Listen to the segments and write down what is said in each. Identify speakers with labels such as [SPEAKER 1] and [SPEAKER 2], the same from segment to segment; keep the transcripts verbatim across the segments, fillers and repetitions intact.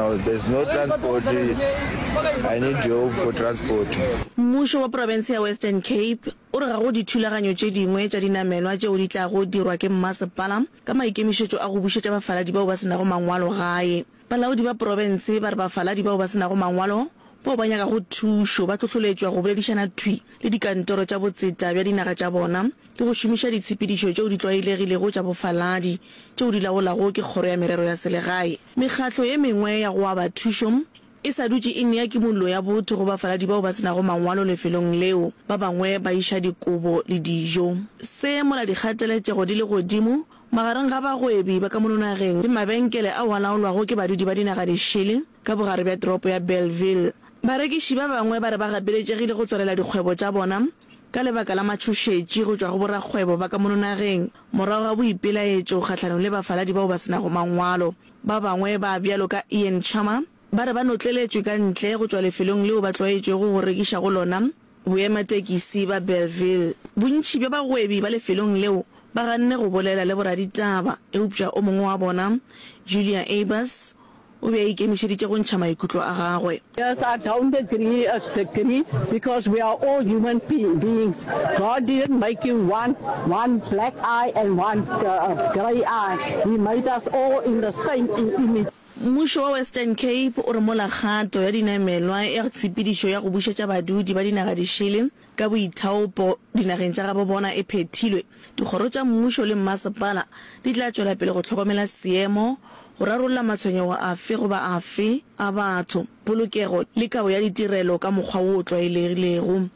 [SPEAKER 1] Now there's no transport. I need help for transport.
[SPEAKER 2] Mmušo wa profense ya Western Cape o re ga go dithulaganyo tše dingwe tša dinamelwa tšeo di tlago dirwa ke mmasepala ka maikemišetšo a go bušetša bafaladi bao ba se nago mangwalo gae. Balaodi ba profense ba re bafaladi bao ba se nago mangwalo bao ba nyakago thušo ba hlohloletšwa go boledišana thwi le dikantoro tša botseta bja dinaga tša bona le go šomiša ditshepedišo tšeo di tlwaelegilego tša bofaladi tšeo di laolago ke Kgoro ya Merero ya Selegae. Mekgatlo ye mengwe ya go aba thušo e sa dutše e nea kimollo ya botho go bafaladi bao ba se nago mangwalo lefelong leo, ba bangwe ba iša dikobo le dijo. Se mola dikgateletšego di le godimo magareng ga bagwebi ba ka mono nageng le mabenkele ao a laolwago ke badudi ba dinaga dišele ka bogare bja toropo ya Bellville. Barekiši ba bangwe ba re ba gapeletšegile go tswalela dikgwebo tša bona ka lebaka la matšhošetši go tšwa go borakgwebo ba ka mono nageng morago ga boipelaetšo kgahlanong le bafaladi bao ba se nago mangwalo. Ba bangwe ba bjalo ka Ian Chama ba re ba notleletšwe ka ntle go tšwa lefelong leo ba tlwaetšego go rekiša go lona, boematekisi ba Bellville. Bontši bja bagwebi ba lefelong leo ba ganne go bolela le boraditaba, eupša o mongwe wa bona, Julia Abers, o be a ikemišeditše go ntšha maikutlo a gagwe.
[SPEAKER 3] Yes, I don't agree, agree because we are all human beings. God didn't make you one, one black eye and one uh, grey eye. He made us all in the same image.
[SPEAKER 2] Mmušo wa Western Cape o re mola kgato ya dinamelwa ya tshepedišo ya go bušetša badudi ba dinaga dišele ka boithaopo dinageng tša gabo bona e phethilwe, dikgoro tša mmušo le mmasepala di tla tšwela pele go hlokomela seemo, go rarolla matshwenyego afe goba afe a batho, polokego le kabo ya ditirelo ka mokgwa wo o tlwaelegilego.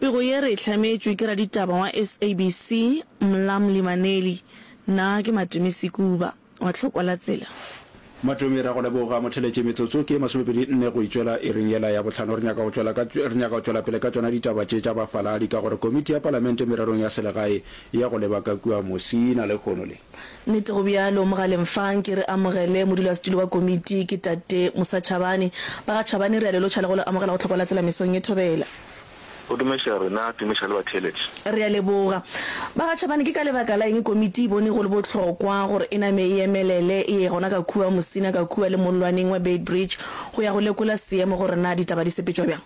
[SPEAKER 2] Pego ye re e hlametšwe ke raditaba wa S A B C, Mlamli Maneli. Nna ke Matome Sekuba wa Tlhokwa la Tsela.
[SPEAKER 4] Matome, Ra go leboga motheletše. Metsotso ke ye masomepedi nne go itšwela iring yela ya bohlano. Re nyaka go tšwela ka, re nyaka go tšwela pele ka tšona ditaba tše tša bafaladi ka gore Komiti ya Palamente Mererong ya Selegae e ya go leba ka kua Musina lehono le.
[SPEAKER 2] Nnete go bjalo, mogaleng fa nke re amogele modulasetulo wa komiti ke Tate Musa Chabane. Ba ga Chabane re a le lotšha le go le amogela go Tlhokwa la Tsela mesong ye thobela.
[SPEAKER 5] Go tumiša rena, tumiša le batheeletši.
[SPEAKER 2] Re a leboga. Ba ga Chabane, ke ka lebaka la eng komiti e bone go le bohlokwa gore e name e emelele e ye gona ka kua Musina ka kua le mollwaneng wa Beitbridge go ya go lekola seemo gore na ditaba di sepetšwa bjang?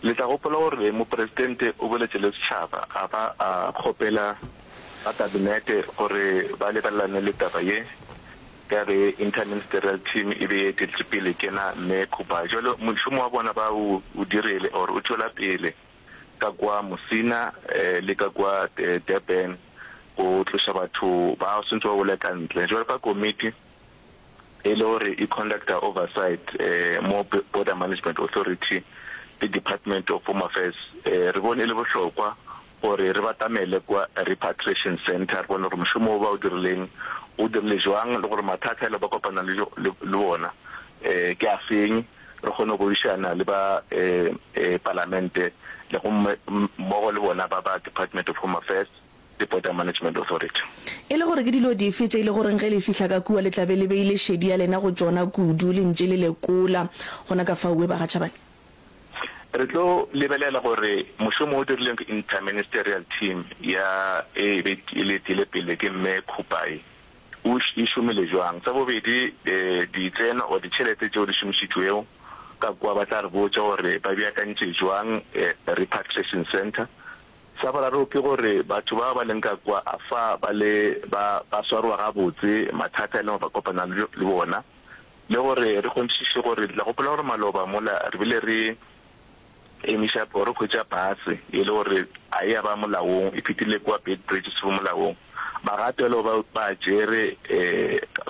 [SPEAKER 5] Le tla gopola gore Mopresidente o boletše le setšhaba a ba a kgopela ba Kabinete gore ba lebelelane le taba ye ka ge Inter-Ministerial Team e be e eteletše pele ke na Mme Khupai. Jwale mošomo wa bona ba o dirile or o tšwela pele ka kwa Musina le ka kwa Durban go tloša batho ba swantse ba bole ka ntle. Jwale ka komiti e le gore e conducta oversight mo Border Management Authority le Department of Home Affairs, re bone e le bohlokwa gore re batamele kwa Repatriation Centre re bone gore mošomo wo ba o dirileng o dirile jwang le gore mathata a le ba kopana le le bona ke a feng, re kgone go boledišana le ba Palamente le gomme mmogo le bona ba ba Department of Home Affairs le Border Management Authority.
[SPEAKER 2] E le gore ke dilo dife tše e le goreng ge le fihla ka kua le tla be le beile šedi ya lena go tšona kudu le ntše le lekola gona ka fao we ba ga Chabane?
[SPEAKER 5] Re tlo lebelela gore mošomo o dirilweng ke Inter-Ministerial Team ya e be e le etile pele ke Mme Khupai o e šomile jwang. Sa bobedi, ditseno or ditšhelete tšeo di šomišitšwego ka kua ba tla re botša gore ba beakantše jwang Repatriation Centre. Sa boraro ke gore batho bao ba leng ka kua a fa ba le ba ba swarwa gabotse, mathata e leng gore ba kopana le bona. Le gore re kgonthišiše gore, le tla gopola gore maloba mola re bile re emiša or re hwetša pase e le gore a e ya ba molaong, e fetile kua Beitbridge e sego molaong. Magato a lego ba ba a tšere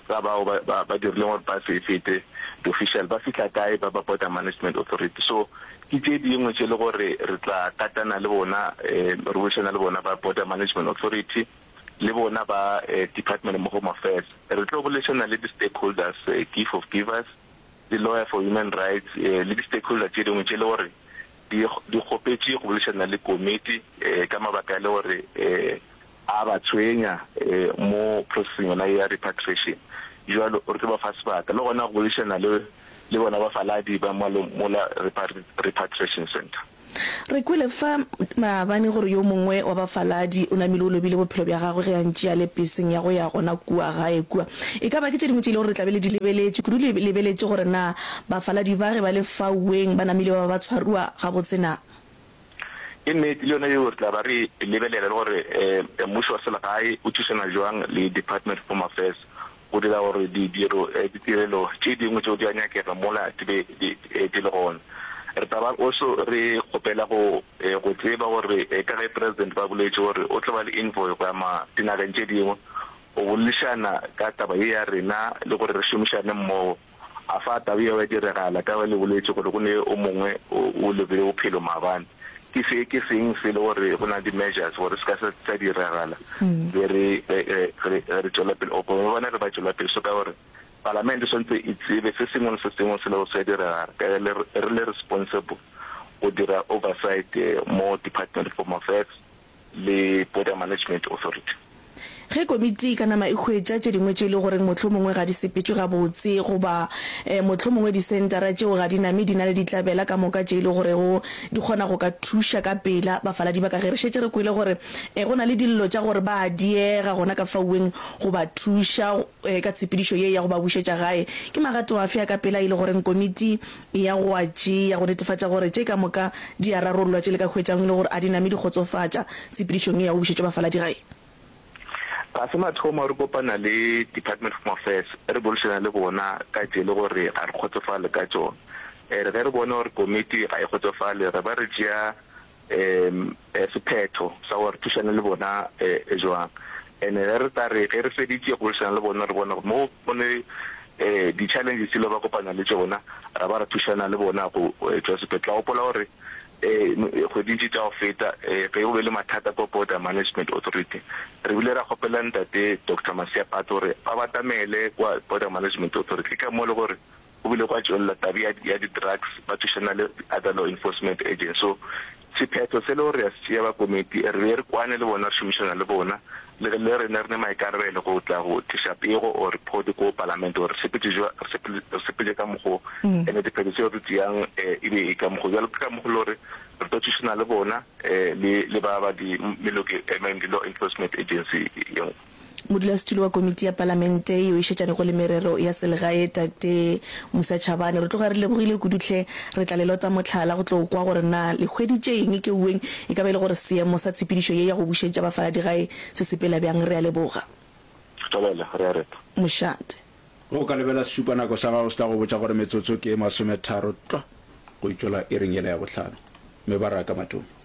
[SPEAKER 5] ka bao ba ba ba dirileng gore pase e fete, di-official ba fihla kae ba ba Border Management Authority. So ke tše dingwe tše le gore re tla katana le bona, re boledišana le bona ba Border Management Authority le bona ba Department of Home Affairs. Re tlo boledišana le di-stakeholders, Gift of Givers, le Lawyer for Human Rights le di-stakeholder tše dingwe tše le gore di di kgopetše go boledišana le komiti ka mabaka a le gore a ba tshwenya mo processing yona ya repatriation. Jwalo re tlo ba fa sebaka le gona go boledišana le le bona bafaladi ba mola repatriation centre.
[SPEAKER 2] Re kwele fa maabane gore yo mongwe wa bafaladi o namile o lobile bophelo bja gagwe ge a ntše a le peseng ya go ya gona kua gae kua. E ka ba ke tše dingwe tše e le gore re tla be le di lebeletše kudu, le lebeletše gore na bafaladi ba ge ba le fauweng ba namile ba ba ba tshwariwa gabotse na.
[SPEAKER 5] Ke nnete, le yona yeo re tla ba re e lebelela le gore mmušo wa selegae o thušana bjang le Department of Home Affairs go dira gore didiro, ditirelo tše dingwe tšeo di a nyakega mola di be di le gona. Re tla ba also re kgopela go go tseba gore ka ge President ba boletše gore o tlo ba le envoy go ya ma dinageng tše dingwe go boledišana ka taba ye ya rena le gore re šomišane mmogo, a fa taba yeo ya diregala ka ge le boletše gore go ne o mongwe o o lobile bophelo maabane. Ke se ke seng se le gore go na le di measures gore se ka se sa diragala ge re ge ge ge re tšwela pele or bona ge ba tšwela pele so ka gore Palamente e swanetše e tsebe se sengwe le se sengwe se lego se a diregala ka ge re le responsible go dira oversight mo Department of Home Affairs le Border Management Authority.
[SPEAKER 2] Ge komiti e ka nama e hwetša tše dingwe tše e le goreng mohlomongwe ga di sepetšwe gabotse goba mohlomongwe disentara tšeo ga di name di na le ditlabela ka moka tše e le gorego di kgona go ka thuša ka pela bafaladi ba ka ge re šetše re kwele gore go na le dillo tša gore ba a diega gona ka fauweng go ba thuša ka tshepedišo ye ya go ba bušetša gae. Ke magato afe a ka pela e le goreng komiti e ya go a tšea go netefatša gore tše ka moka di a rarollwa tše le ka hwetšago e le gore a di name di kgotsofatša tshepedišong ye ya go bušetša bafaladi gae?
[SPEAKER 5] Ga se mathomo re kopana le Department of Home Affairs re boledišana le bona ka tše le gore ga re kgotsofale ka tšona. Re ge re bona gore komiti ga e kgotsofale re ba re tšea um sephetho sa gore re thušane le bona jwang. And-e ge re tla re ge re feditše go boledišana le bona re bona gore mo go ne di-challenges tše le ba kopana le tšona, ra ba ra thušana le bona go tšwa sephetho. Tla gopola gore kgweding tše tša go feta ge go be le mathata ko Border Management Authority, re bile ra kgopela ntate Doctor Masia Phato gore ba batamele kwa Border Management Authority. Ke ka mo le gore Go bile gwa tšwelela taba ya, ya di-drugs, ba thušana le other law enforcement agents. So, sephetho se le gore re a se tšea ba komiti, re be re kwane le bona, re šomišana le bona, le ge le rena re ne maikarabelo go tla go tliša pego or report ko palamente gore re sepetše jwa, re sepele, re sepetše ka mokgo, and diphetho tseo re tšeang e be e ka mokgo. Bjalo ke ka mokgo le gore re tlo thušana le bona le, le ba ba di meloko, I mean di law enforcement agency ye nngwe.
[SPEAKER 2] Modulasetulo wa Komiti ya Palamente yeo e šetšanego le merero ya selegae, Tate Musa Chabane, re tloga re lebogile kudu hle. Re tla le lota mohlala go tlo kwa gore na le hweditše eng keuweng, e ka ba e le gore seemo sa tshepedišo ye ya go bušetša bafaladi gae se sepela bjang. Re a leboga.
[SPEAKER 5] Thobela, re a reta.
[SPEAKER 2] Mošate.
[SPEAKER 4] Ge o ka lebela sešupanako sa gago se tla go botša gore metsotso ke e masometharo tlwa go itšwela iring yela ya bohlano. Mebaraka Matome.